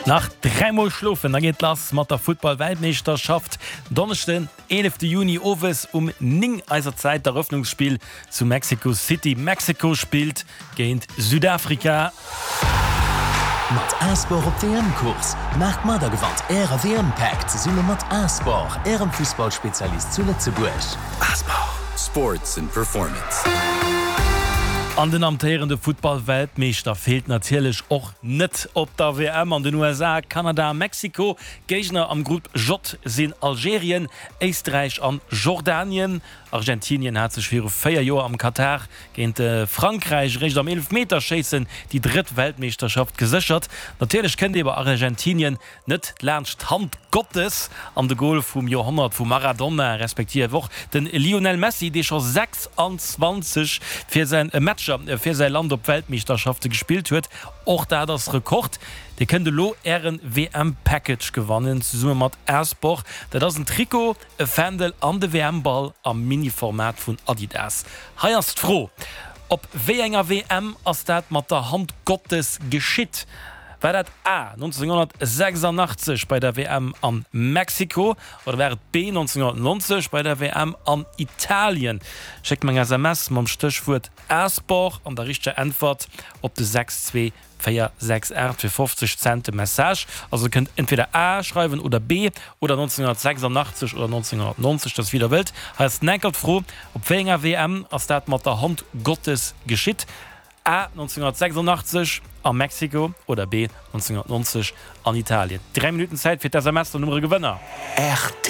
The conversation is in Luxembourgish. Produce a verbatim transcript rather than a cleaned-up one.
Nach dräimol schlofen, da geet lass mat der Futtball-Weltmeeschterschaft. Donneschden, eelefte Juni owes um néng eiser Zäit d'Erëffnungsspill zu Mexico City. Mexiko spillt géint Südafrika. Mat A-Sport op W M-Course! Maacht mat a gewannt Äre W M-Pack zesumme mat A-Sport, Ärem Fussballspezialist zu Lëtzebuerg. A-Sport. Sports and Performance. An den amtéierende Futtball-Weltmeeschter feelt natierlech och net op der W M an den U S A, Kanada a Mexiko. Géigner am Grupp J sinn Algerien, Éisträich an Jordanien. Argentinien hat sech viru véier Joer am Katar géint Frankräich eréischt am Eelefmeterschéissen déi drëtt Weltmeeschterschaft geséchert. Natierlech kënnt ee bei Argentinien net laanscht d'Hand Gottes an de Gol vum Joerhonnert vum Maradona, respektiv och de Lionel Messi, dee scho sechsanzwanzeg fir säin Matcher fir säi Land op Weltmeeschterschafte gespillt huet. Och dat ass Rekord. Dir kënnt elo Ären W M-Package gewannen, zesumme mat A-Sport. Dat ass en Trikot, e Fändel an de W M-Ball am Mini-Format vun Adidas. Hei ass d'Fro: Op wéi enger W M ass dat mat der Hand Gottes geschitt? War dat A neunzehnhundertsechsundachtzig bei der W M an Mexiko oder war et B neunzehnhundertneunzig bei der W M an Italien? Schéckt mer eng S M S mam Stéchwuert A-Sport an der richteger Äntwert op de sechs zwee véier sechs aacht fir fofzeg Cent de Message. Also kënnt entweder A schreiwen oder B oder neunzehnhundertsechsundachtzig oder neunzehnhundertneunzig, dat wéi der wëllt. Hei ass d'enkel d'Fro: Op wéi enger W M ass dat mat der Hand Gottes geschitt? A neunzehnhundertsechsundachtzig a Mexiko oder B neunzehnhundertneunzig an Italien. Dräi Minuten Zäit fir d'S M S der Nummere Gewënner. R T